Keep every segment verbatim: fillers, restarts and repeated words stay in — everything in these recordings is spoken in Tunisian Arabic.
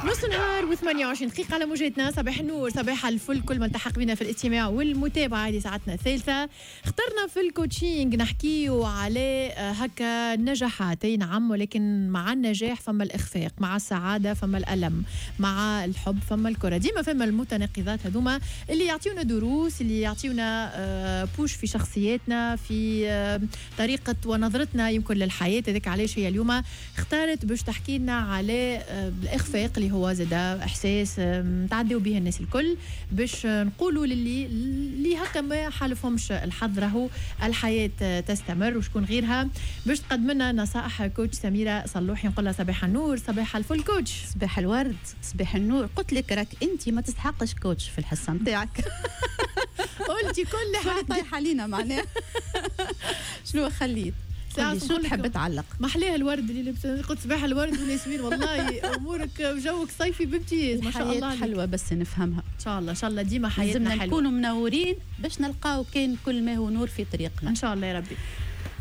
نص نهار وثمانية وعشرين دقيقة على موجاتنا. صباح النور، صباح الفل، كل من التحق بنا في الاستماع والمتابعة. هذه ساعتنا الثالثة، اخترنا في ال coaching نحكيو على آه، هكا النجاحات. اي نعم، ولكن مع النجاح فما الإخفاق، مع السعادة فما الألم، مع الحب فما الكره، ديما فما المتناقضات هذوما اللي يعطيونا دروس، اللي يعطيونا آه، push في شخصياتنا، في آه، طريقة ونظرتنا يمكن للحياة. هذاك علاش هي اليوم اختارت باش تحكي لنا على الإخفاق، اللي هو زاد إحساس تعديو به الناس الكل، باش نقولوا للي اللي هكا ما حالفهمش الحظ راهو الحياة تستمر. وشكون غيرها باش تقدم لنا نصائح؟ coach سميرة صلوحي. نقول لها صباح النور، صباح الفل coach. صباح الورد، صباح النور. قلت لك راك انت ما تستحقش coach في الحصة نتاعك. قلتي كل حاجه. طايحة علينا معناها. شنو خليت؟ شو تحب تعلق؟ ما احلاه الورد اللي لبس. قلت صباح الورد والياسمين. والله امورك وجوك صيفي بامتياز، ما شاء الله. حلوة بس نفهمها. ان شاء الله، ان شاء الله ديما حياتنا حلوه. نكونوا منورين باش نلقاو كان كل ما هو نور في طريقنا. ان شاء الله يا ربي.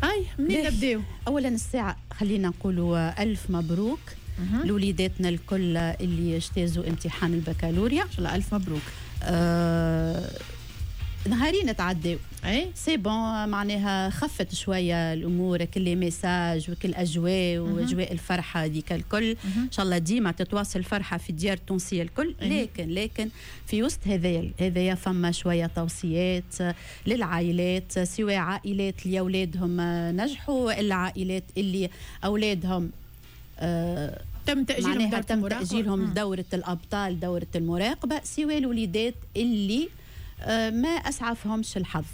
هاي منين نبداو؟ اولا الساعة خلينا نقولوا الف مبروك لوليداتنا الكل اللي اجتازوا امتحان البكالوريا. ان شاء الله الف مبروك. آه نهارين تعداو. اي c'est bon، معناها خفت شوية الامور، كل les messages وكل الاجواء واجواء الفرحة هذيك الكل. ان شاء الله ديما تتواصل الفرحة في الديار التونسية الكل. لكن لكن في وسط هذايا هذايا فما شوية توصيات للعائلات، سواء عائلات اللي اولادهم نجحوا والا عائلات اللي اولادهم آه تم تأجيلهم. تم تأجيلهم دورة الأبطال، دورة المراقبة، سواء الوليدات اللي آه، ما اسعفهمش الحظ.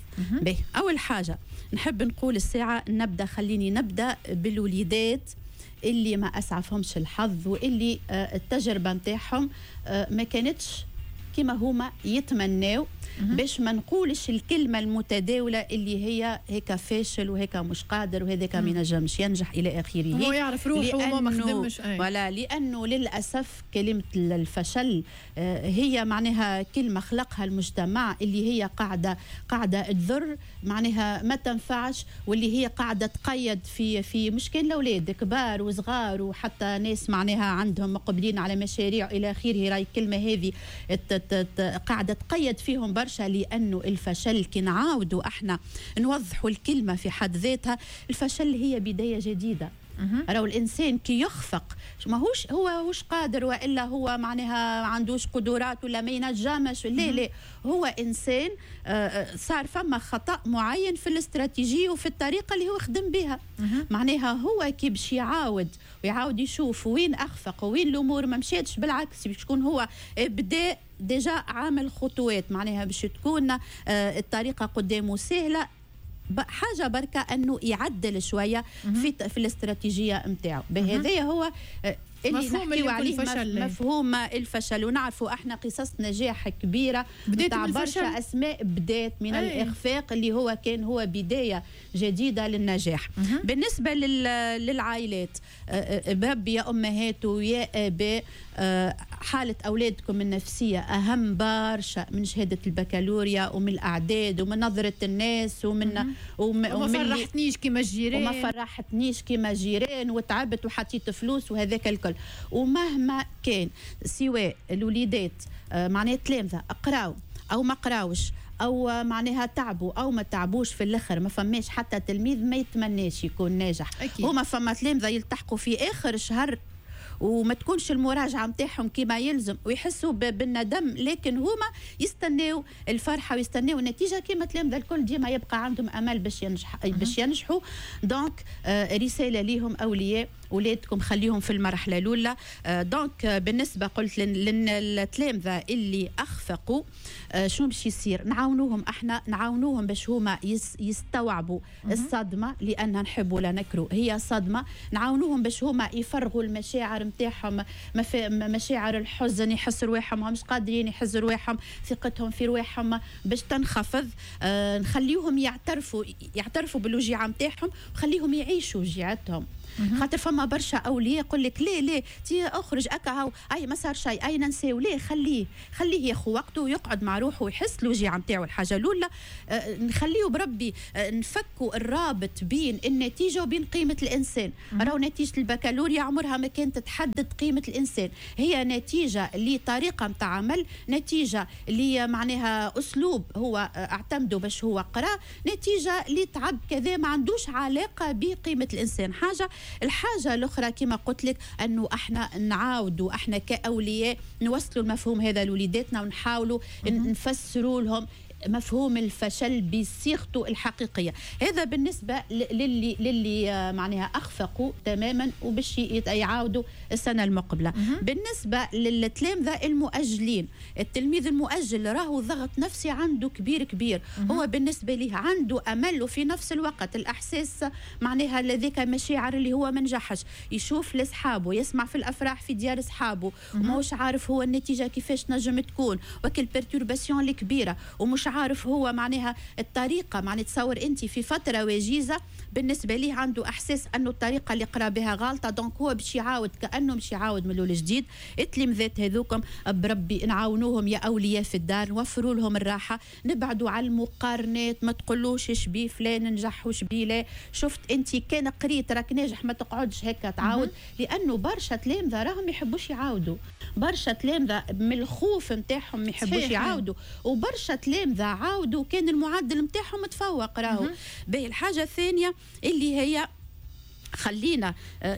به، اول حاجة نحب نقول الساعة نبدا، خليني نبدا بالوليدات اللي ما اسعفهمش الحظ واللي آه، التجربة نتاعهم آه، ما كانتش كما هما يتمناو، باش ما نقولش الكلمة المتداولة اللي هي هيك فاشل وهيك مش قادر وهذاك ما ينجمش ينجح الى اخره. هو يعرف روحه وما ما خدمش. ولا لانه للاسف كلمة الفشل آه، هي معناها كلمة خلقها المجتمع اللي هي قاعده قاعده تضر، معناها ما تنفعش، واللي هي قاعدة تقيد في في مش كان الاولاد، كبار وصغار وحتى ناس معناها عندهم مقبلين على مشاريع الى اخره. راي الكلمة هذه قاعدة تقيد فيهم برشا، لانه الفشل كي نعاودوا احنا نوضحوا الكلمة في حد ذاتها، الفشل هي بداية جديده. راهو الانسان كي يخفق ماهوش هو مش قادر والا هو معناها عندوش قدرات ولا ما ينجمش. لا لا، هو انسان آه، آه، صار فما خطا معين في الاستراتيجية وفي الطريقة اللي هو خدم بها. معناها هو كي باش يعاود ويعاود يشوف وين اخفق وين الامور ما مشاتش، بالعكس باش يكون هو بدا déjà عامل خطوات، معناها باش تكون آه، الطريقة قدامه سهله. حاجة بركة انه يعدل شوية في في الاستراتيجية نتاعو. بهذا هو آه، اللي مفهوم نحكيو عليه الفشل. مفهوم الفشل، ونعرفوا احنا قصص نجاح كبيرة بدات من برشا اسماء بدات من أي. الاخفاق اللي هو كان هو بداية جديدة للنجاح. مه. بالنسبة للعائلات، آه، آه، بربي يا امهات ويا اباء، حاله اولادكم النفسية اهم برشا من شهادة البكالوريا ومن الاعداد ومن نظره الناس ومن ومن وما فرحتنيش كيما الجيران. وما فرحتنيش كيما جيران وتعبت وحطيت فلوس وهذاك الكل. ومهما كان، سواء الوليدات آه، معناها تلامذه اقراو او ما قراوش او معناها تعبوا او ما تعبوش، في الاخر ما فماش حتى تلميذ ما يتمناش يكون ناجح. أكيد. هما فما تلامذه يلتحقوا في اخر شهر وما تكونش المراجعة نتاعهم كما يلزم ويحسوا بالندم، لكن هما يستناو الفرحة ويستناو النتيجة كما تلامذه الكل، ديما يبقى عندهم امل باش ينجح باش ينجحوا. donc آه رسالة ليهم، اولياء اولادكم خليهم في المرحلة الاولى. آه donc آه بالنسبة قلت للتلامذه اللي اخفقوا، آه شنو باش يصير؟ نعاونوهم احنا، نعاونوهم باش هما يستوعبوا الصدمه، لان نحبوا لا نكرهوا هي صدمه. نعاونوهم باش هما يفرغوا المشاعر نتاعهم، مشاعر الحزن، يحسوا رواحهم مش قادرين، يحسوا رواحهم ثقتهم في رواحهم باش تنخفض. آه نخليهم يعترفوا يعترفوا بالوجيعه نتاعهم وخليهم يعيشوا وجيعتهم. خاطر فما برشا اولياء يقول لك ليه ليه تي اخرج اكا اي ما صار شيء، اي ننساو، ليه خليه خليه ياخذ وقته ويقعد مع روحه ويحس الوجيعه نتاعو. الحاجة الاولى آه نخليه بربي آه نفكوا الرابط بين النتيجة وبين قيمة الانسان. راهو نتيجة البكالوريا عمرها ما كانت تحدد قيمة الانسان، هي نتيجة لطريقه نتاع عمل، نتيجة اللي معناها اسلوب هو اعتمده باش هو قرا، نتيجة لتعب كذا، ما عندوش علاقة بقيمة الانسان. حاجة الحاجة الاخرى كما قلت لك انه احنا نعاودوا احنا كاولياء نوصلوا المفهوم هذا لوليداتنا ونحاولوا نفسروا لهم مفهوم الفشل بصيغته الحقيقية. هذا بالنسبة للي للي معناها اخفقوا تماما وباش يعاودوا السنة المقبلة. بالنسبة للتلامذه المؤجلين، التلميذ المؤجل راهو ضغط نفسي عنده كبير كبير. هو بالنسبة ليه عنده امل وفي نفس الوقت الاحساس معناها لذيك مشاعر اللي هو ما نجحش، يشوف لاصحابه، يسمع في الافراح في ديار اصحابه وماهوش عارف هو النتيجة كيفاش نجم تكون، وكل perturbation الكبيرة ومش عارف هو معناها الطريقة. معناها تصور انت في فترة وجيزة بالنسبة ليه عنده احساس انه الطريقة اللي قرا بها غلطه، donc هو باش يعاود كانه باش يعاود من الاول جديد. التلامذات هذوكم بربي نعاونوهم يا اولياء في الدار، نوفروا لهم الراحة، نبعدوا على المقارنات، ما تقولوش شبيه فلان نجح وشبيه لا، شفت انت كان قريت راك ناجح، ما تقعدش هكا تعاود، لانه برشا تلامذه راهم ما يحبوش يعاودوا، برشا تلامذه من الخوف نتاعهم ما يحبوش يعاودوا، وبرشا تلامذه عاودوا كان المعدل نتاعهم متفوق راهو. باهي الحاجة الثانية اللي هي خلينا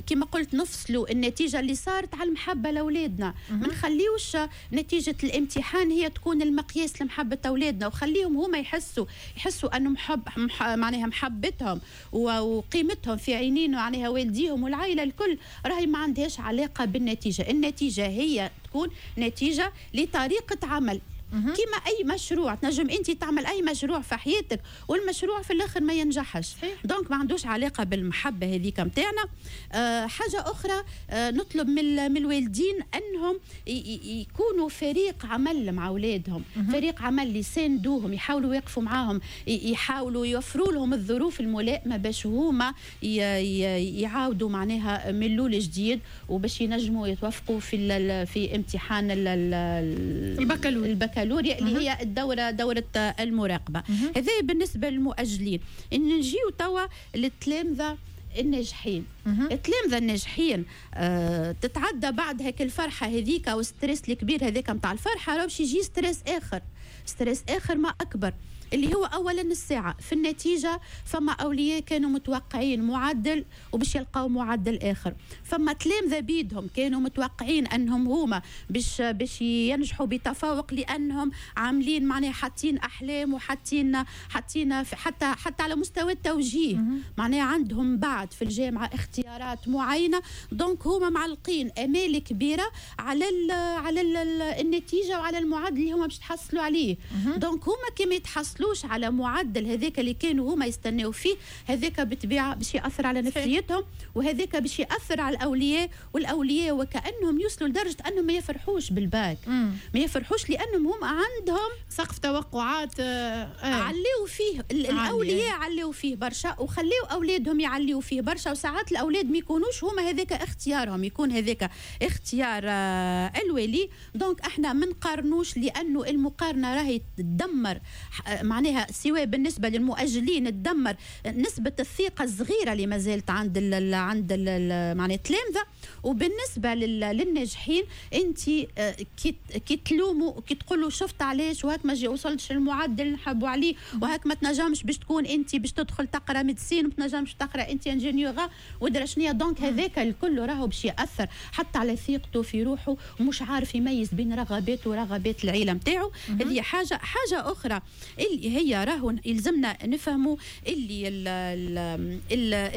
كما قلت نفصلوا النتيجة اللي صارت على المحبة لاولادنا، ما نخليوش نتيجة الامتحان هي تكون المقياس لمحبة اولادنا، وخليهم هما يحسوا يحسوا انه محب معناها محبتهم وقيمتهم في عينين معناها والديهم والعائلة الكل راهي ما عندهاش علاقة بالنتيجة. النتيجة هي تكون نتيجة لطريقه عمل، كما اي مشروع تنجم انت تعمل اي مشروع في حياتك والمشروع في الاخر ما ينجحش، donc ما عندوش علاقة بالمحبة هذيك نتاعنا. أه حاجة اخرى أه نطلب من من الوالدين انهم يكونوا فريق عمل مع اولادهم، فريق عمل يساندوهم، يحاولوا يقفوا معاهم، يحاولوا يوفروا لهم الظروف الملائمة باش هما يعاودوا معناها من الاول جديد وباش ينجموا يتوفقوا في في امتحان البكالوريا البكالوريا اللي هي الدورة دورة المراقبة. هذا بالنسبة للمؤجلين. نجيو توا للتلامذة الناجحين. التلامذة الناجحين آه تتعدى بعد هيك الفرحة هذيك وال stress الكبير هذاك نتاع الفرحة، راه باش يجي stress آخر، stress آخر ما أكبر، اللي هو اولا الساعة في النتيجة. فما اولياء كانوا متوقعين معدل وباش يلقاو معدل اخر، فما تلامذه بيدهم كانوا متوقعين انهم هما باش باش ينجحوا بتفوق لانهم عاملين معناها حاطين احلام وحاطين حاطين حتى حتى على مستوى التوجيه معناها عندهم بعد في الجامعة اختيارات معينة، donc هما معلقين امال كبيرة على ال على ال النتيجة وعلى المعدل اللي هما باش تحصلوا عليه. donc هما كما يتحصلوا على معدل هذاك اللي كانوا هما يستناو فيه، هذاك بالطبيعة باش ياثر على نفسيتهم، وهذاك باش ياثر على الاولياء، والاولياء وكانهم يوصلوا لدرجة انهم ما يفرحوش بالباك، مم. ما يفرحوش لانهم هم عندهم سقف توقعات آه. عليو فيه الاولياء، عليو فيه برشا وخليو اولادهم يعليو فيه برشا، وساعات الاولاد ما يكونوش هما هذاك اختيارهم، يكون هذاك اختيار آه الولي. donc احنا ما نقارنوش لانه المقارنة راهي تدمر معناها سواء بالنسبة للمؤجلين تدمر نسبه الثقة الصغيرة اللي ما زالت عند ال عند ال معناها التلامذه، وبالنسبة للناجحين انت كي كي تلوموا كي تقولوا شفت علاش وهاك ما وصلتش المعدل نحبوا عليه، وهاك ما تنجمش باش تكون انت باش تدخل تقرا médecine، وما تنجمش تقرا انت ingénieur ودرا شنيا. donc هذاك الكل راهو باش ياثر حتى على ثقته في روحه، ومش عارف يميز بين رغباته ورغبات العيلة نتاعو. هذه حاجة. حاجة اخرى اللي هي راهو يلزمنا نفهموا اللي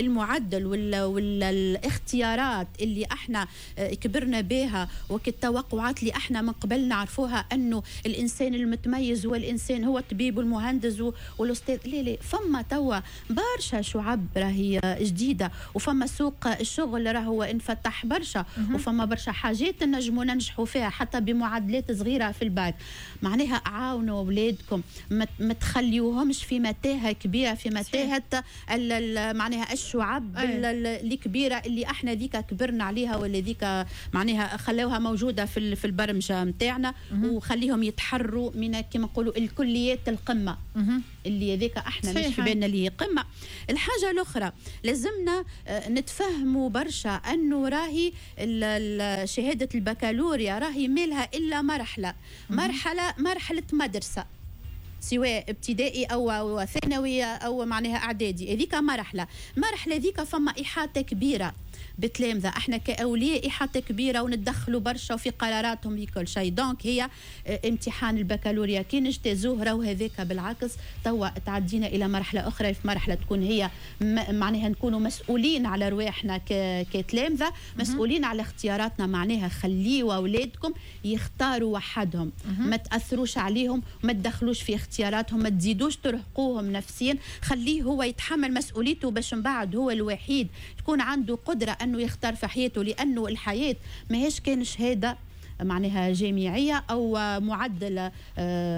المعدل والاختيارات اللي احنا كبرنا بها وكالتوقعات اللي احنا من قبل نعرفوها انه الانسان المتميز هو الانسان هو الطبيب والمهندس والاستاذ، لا لا، فما توا برشا شعب راهي جديدة، وفما سوق الشغل راهو انفتح برشا، وفما برشا حاجات نجموا ننجحوا فيها حتى بمعدلات صغيرة في الباك. معناها عاونوا اولادكم، ما ما تخليوهمش في متاهه كبيرة، في متاهه معناها الشعب الكبيرة اللي احنا ذيك كبرنا عليها، ولا ذيك معناها خلوها موجودة في في البرمجة نتاعنا، وخليهم يتحروا من كما نقولوا الكليات القمه اللي ذيك احنا مش في بالنا اللي هي قمة. الحاجة الاخرى لازمنا نتفهموا برشا انه راهي شهادة البكالوريا راهي مالها الا مرحلة، مرحلة مرحلة مدرسه، سواء ابتدائي او ثانوي او معناها اعدادي، هذيك مرحلة، مرحلة ذيك فما احاطة كبيرة بتلامذه، احنا كاولياء احاطة كبيرة وندخلوا برشا في قراراتهم في كل شيء. donc هي امتحان البكالوريا كي نجتازوه راهو هذاك بالعكس توا تعدينا الى مرحلة اخرى، في مرحلة تكون هي معناها نكونوا مسؤولين على رواحنا كتلامذه، مسؤولين على اختياراتنا، معناها خليوا اولادكم يختاروا وحدهم، ما تاثروش عليهم، ما تدخلوش في اختياراتهم، ما تزيدوش ترهقوهم نفسيا، خليه هو يتحمل مسؤوليته باش من بعد هو الوحيد تكون عنده قدره انه يختار في حياته، لانه الحياة ماهيش كان شهادة معناها جامعية او معدل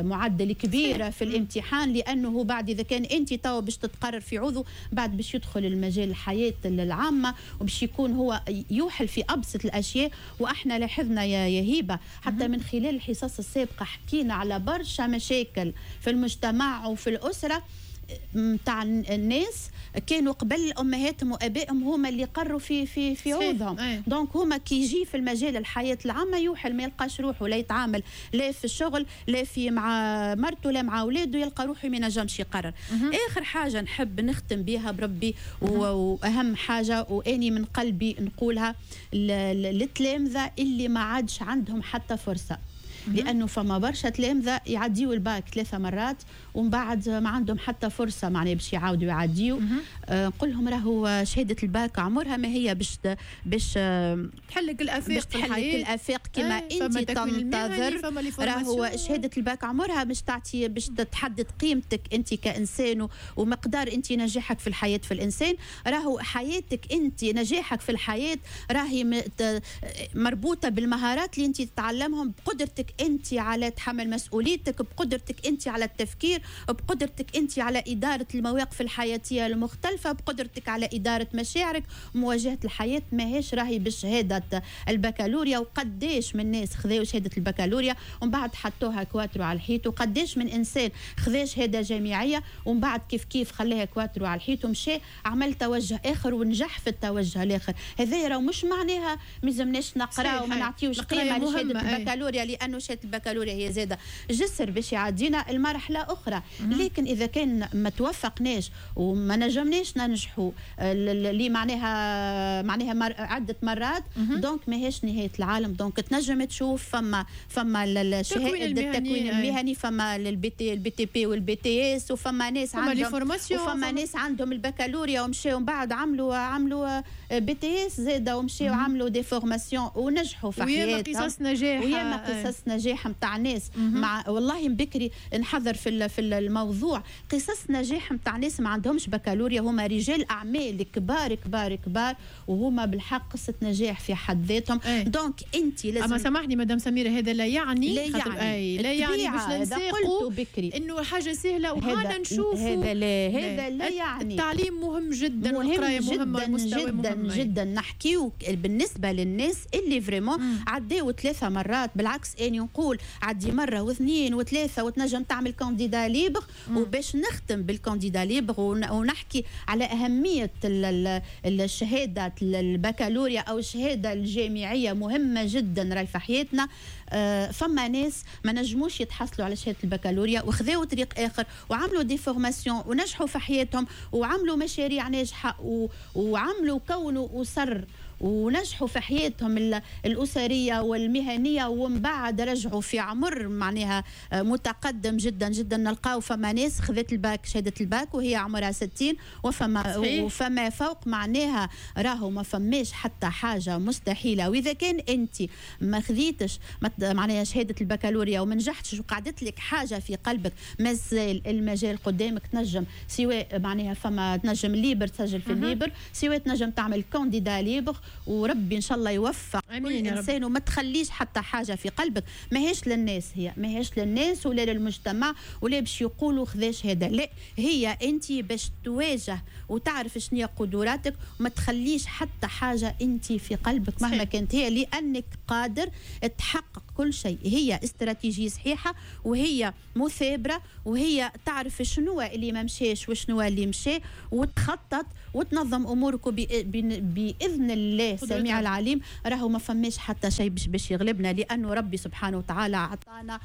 معدل كبير في الامتحان، لانه بعد اذا كان انت توا باش تتقرر في عضو بعد باش يدخل المجال الحياة العامة وباش يكون هو يوحل في ابسط الاشياء. واحنا لاحظنا يا هبه حتى من خلال الحصص السابقة حكينا على برشا مشاكل في المجتمع وفي الاسرة نتاع الناس كانوا قبل امهاتهم وابائهم هما اللي قروا في في في عوضهم. donc هما كي يجي في المجال الحياة العامة يوحل، ما يلقاش روحه، لا يتعامل لا في الشغل لا في مع مرته لا مع اولاده، يلقى روحه ما ينجمش يقرر. اخر حاجة نحب نختم بها بربي واهم حاجة واني من قلبي نقولها للتلامذه اللي ما عادش عندهم حتى فرصة، لانه فما برشا تلامذه يعديوا الباك ثلاثة مرات ومن بعد ما عندهم حتى فرصة معناها باش يعاودوا يعديوا. آه نقول لهم راهو شهادة الباك عمرها ما هي باش باش تحلك الافاق، باش تحلك الافاق كما انت تنتظر. راهو شهادة الباك عمرها باش تعطي باش تحدد قيمتك انت كانسان ومقدار انت نجاحك في الحياة في الانسان. راهو حياتك انت نجاحك في الحياة راهي مربوطة بالمهارات اللي انت تتعلمهم، بقدرتك انت على تحمل مسؤوليتك، بقدرتك انت على التفكير، بقدرتك انت على ادارة المواقف الحياتية المختلفة، بقدرتك على ادارة مشاعرك، مواجهة الحياة. ماهيش راهي بشهادة البكالوريا. وقداش من ناس خذاو شهادة البكالوريا ومن بعد حطوها كواترو على الحيط، وقداش من انسان خذا شهادة جامعية ومن بعد كيف كيف خلاها كواترو على الحيط ومشى عمل توجه اخر ونجح في التوجه الاخر. هذا راه مش معناها ما لازمناش نقرا وما نعطيوش قيمة لشهادة البكالوريا، لانه شهادة البكالوريا هي زاده جسر باش يعدينا المرحلة اخرى. لكن اذا كان ما توفقناش وما نجمناش ننجحوا اللي معناها معناها مر عده مرات، donc ماهيش نهاية العالم. donc تنجم تشوف فما فما الشهادة التكوين المهني، فما ال BT ال BTP وال BTS، وفما ناس عندهم وفما ناس عندهم البكالوريا ومشاو من بعد عملوا عملوا BTS زاده ومشاو عملوا des formations ونجحوا في حياتهم. وياما قصص نجاح، وياما قصص نجاح نتاع ناس مع والله بكري نحضر في في الموضوع قصص نجاح نتاع ناس ما عندهمش بكالوريا، هما رجال اعمال كبار كبار كبار وهما بالحق قصة نجاح في حد ذاتهم. donc انت لازم، اما سامحني مدام سميرة، هذا لا يعني لا يعني أي لا يعني باش ننساقوا انه حاجة سهلة وهذا نشوفوا هذا لا هذا لا يعني. التعليم مهم جدا والقرايه مهمة جدا جدا جدا. نحكيو بالنسبة للناس اللي vraiment عداو ثلاثة مرات، بالعكس اني نقول عدي مرة واثنين وثلاثة وتنجم تعمل candidat libre. وباش نختم بال candidat libre ونحكي على اهمية الشهادة البكالوريا او الشهادة الجامعية، مهمة جدا راهي في حياتنا. فما ناس ما نجموش يتحصلوا على شهادة البكالوريا وخذاو طريق اخر وعملوا des formations ونجحوا في حياتهم وعملوا مشاريع ناجحة وعملوا كونوا اسر ونجحوا في حياتهم الأسرية والمهنية، ومن بعد رجعوا في عمر معناها متقدم جدا جدا. نلقاو فما ناس خذت الباك شهادة الباك وهي عمرها ستين وفما وفما فوق، معناها راهو ما فماش حتى حاجة مستحيلة. وإذا كان أنت ما خذيتش معناها شهادة البكالوريا وما نجحتش وقعدت لك حاجة في قلبك، مازال المجال قدامك، تنجم سواء معناها فما تنجم libre تسجل في ال libre، سواء تنجم تعمل candidat libre وربي ان شاء الله يوفق كل انسان، وما تخليش حتى حاجة في قلبك ماهيش للناس، هي ماهيش للناس ولا للمجتمع ولا باش يقولوا خذا شهادة، لا هي انت باش تواجه وتعرف شنو هي قدراتك وما تخليش حتى حاجة انت في قلبك مهما كانت هي، لانك قادر تحقق كل شيء. هي استراتيجية صحيحه وهي مثابره وهي تعرف شنو اللي ما مشاش وشنو اللي مشى، وتخطط وتنظم امورك باذن الله السميع العليم. راهو ما فماش حتى شيء باش باش يغلبنا، لانه ربي سبحانه وتعالى اعطانا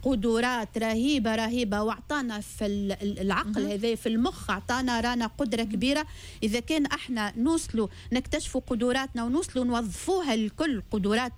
قدرات رهيبة رهيبة، واعطانا في العقل هذا في المخ اعطانا رانا قدره كبيرة. اذا كان احنا نوصلوا نكتشفوا قدراتنا ونوصلوا نوظفوها الكل، قدرات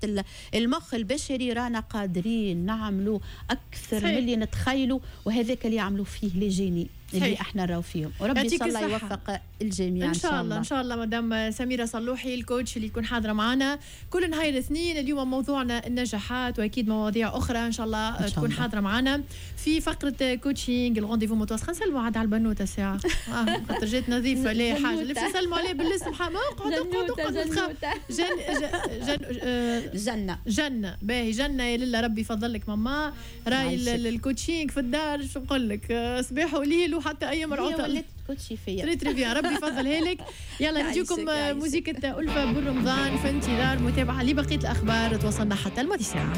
المخ البشري، رانا قادرين نعملوا اكثر من اللي نتخيلوا، وهذاك اللي يعملوا فيه les génies اللي احنا نراو فيهم. وربي ان شاء الله يوفق الجميع ان شاء الله. ان شاء الله مدام سميرة صلوحي ال coach اللي يكون حاضره معنا كل نهار الاثنين. اليوم موضوعنا النجاحات واكيد مواضيع اخرى ان شاء الله تكون حاضره معنا في فقره coaching. ال rendez-vous متواصل. نسلموا عاد على البنوته ساعة اه خاطر جات نظيفة لا حاجة اللي نسلموا عليه بالاسم. اقعد اقعد اقعد جن جن جنة جنة باهي جنة يا لله ربي يفضل لك ماما. راي ال coaching في الدار شو نقول لك، صباح وليل وحتى ايام العطل ولات coach فيا. très très bien، ربي يفضلها لك. يلا نجيكم موزيكة ألفة بالرمضان في انتظار متابعة لبقية الأخبار. توصلنا حتى الماضي ساعة.